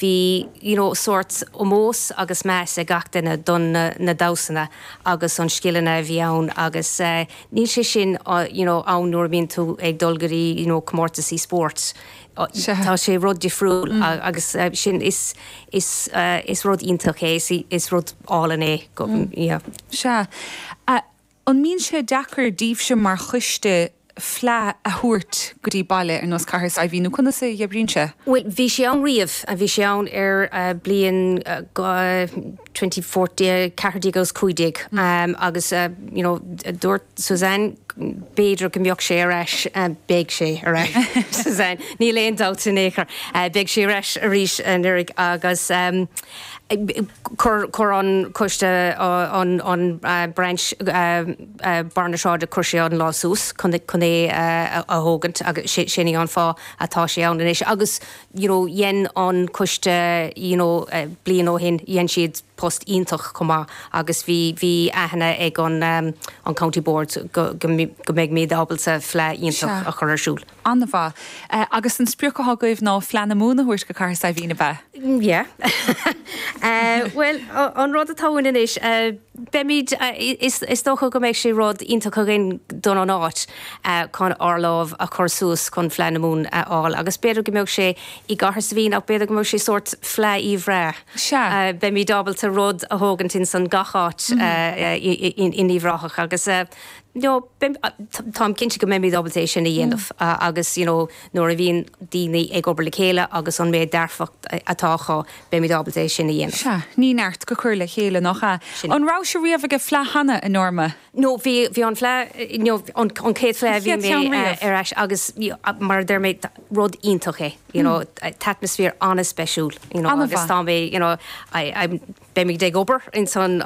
bhí you know sórt ómós agus meas ag gach duine don na damhsanna agus an scileanna a bhí ann agus níl sé sin you know ann nuair a bhíonn tú ag dul go dtí you know comórtasaí spóirt. Tá sé rud difriúil agus sin is is is rud iontach é is rud álainn é go yeah. Sea. An mbíonn sé deacair daoibhse mar choiste fleadh a thabhairt go dtí baile ar nós Cathair Saidhbhín nó conas a oibríonn sé? Bhuel, bhí sé ann riamh. Bhí sé ann ar bliain 2014, 14 agus 15 agus you know dúirt Suzanne b'fhéidir go mbeadh sé ar ais, beidh sé ar ais Suzanne, níl aon dabht in aon chor, beidh sé ar ais arís anuraidh agus Chuir an coiste an branch Barr na Sráide chuir sé an lámh suas chun é a thógaint agus sin é an fáth atá sé ann anois agus you know dhein an coiste you know bliain ó shin dhein siad post iontach chomh maith agus bhí bhí aithne ag an an County Board go go mbeimid ábalta fleadh iontach a chur ar siúl. An-mhaith. Agus an sprioc atá agaibh ná Fleadh na Mumhan a thabhairt go Cathair Saidhbhín, ab ea? Yeah. Bhuel, an rud atá ann anois, beimid, is dócha go mbeidh sé rud iontach againn don an áit chun ár lámh a chur suas chun Fleadh na Mumhan a fháil agus b'fhéidir go mbeadh sé i gCathair Saidhbhín ach b'fhéidir go mbeadh sé sórt Fleadh Uíbh Ráthach. Sea. Beimid ábalta rud a thógaint ins an gach áit in Uíbh Ráthach agus You know, táim cinnte go mbeimid ábalta é sin a dhéanamh agus you know nuair a bhíonn daoine ag obair le chéile agus an méid dearfacht atá acu, beimid ábalta é sin a dhéanamh. Sea, ní neart go cur le chéile, nach ea? Sin. An raibh sibh riamh ag an Fleadh cheana, a Norma? No, bhí, bhí an Fleadh, you know, an chéad Fleadh a bhí mé ar ais agus mar a deir mé, rud iontach é, you know, t-atmaisféar an-speisiúil, you know, agus tá mé, you know, I, I'm, Beimid ag obair ins an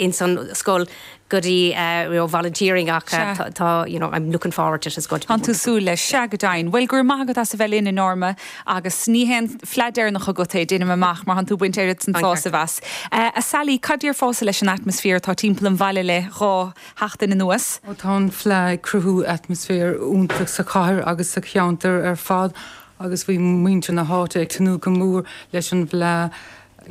ins an scoil go dtí you know volunteering ach tá you know I'm looking forward to it, it's going to be Tá tú súil leis, sea go deimhin. Bhuel go raibh maith agat as a bheith linn a Norma agus ní hé an fleadh deireanach agat é, déanaim amach, mar tánn tú ag baint oiread san sásamh as. A Sally, cad déarfása leis an atmaisféar atá timpeall an bhaile le dhá sheachtain anuas? Ó tá an fleadh ag cruthú atmaisféar iontach sa chathair agus sa cheantar ar fad agus bhí muintir na háite ag tnúth go mór leis an bhFleadh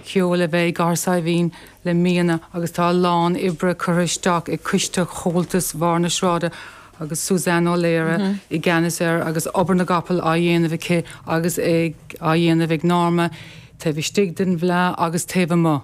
Cheoil a bheith i gCathair Saidhbhín le míonna agus tá a lán oibre curtha isteach ag Coiste Chomhaltas Bharr na Sráide agus Suzanne Ó Laoire i gceannas air agus obair na gcapall á dhéanamh aici agus ag á dhéanamh ag Norma taobh istigh den bhFleadh agus taobh amuigh.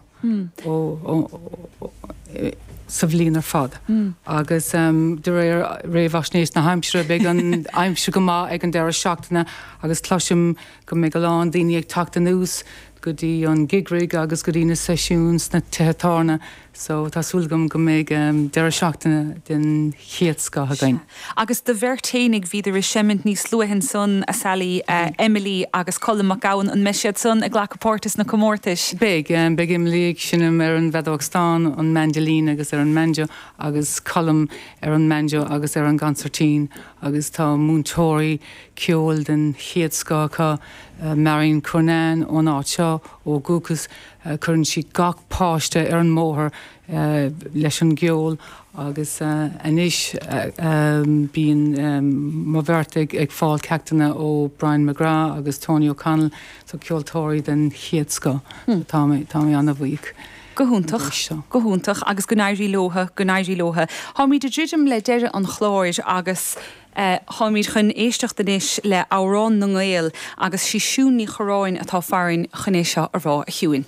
sa bhliain ar fad. Agus de réir réamhaisnéis na haimsire, beidh an aimsir go maith ag an deireadh seachtaine agus cloisim go mbeidh a lán daoine ag teacht anuas go dtí an gig rig agus go dtí na seisiúin sna tithe tábhairne. So tá súil agam go mbeidh deireadh seachtaine den chéad scoth againn. Sea. Agus do bheirt fhéinig, bhíodar ag seimint níos luaithe ansan, a Sally, Emily agus Colm Mac Gabhann, an mbeidh siad san ag glacadh páirte sna comórtais? Beidh. Beidh Emily ag seinm ar an bhfeadóg stáin, an mandolin agus ar an mbanjo agus Colm ar an mbanjo agus ar an gconsairtín agus tá múinteoirí ceoil den chéad scoth acu, Marion Cunnane ón áit seo ó dhúchas, cuireann sí gach páiste ar an mbóthar leis an gceol agus anois bíonn mo bheirt ag fáil ceachtanna ó Brian McGrath agus Tony O'Connell, so ceoltóirí den chéad scoth. Tá mé tá mé an-bhuíoch. Go hiontach, go hiontach agus go n-éirí leotha, go n-éirí leotha. Táimid ag druidim le deireadh an chláir agus táimid chun éisteacht anois le Amhrán na nGael agus sí Siún Ní Chorráin atá farainn chun é seo a rá, a Shiúin.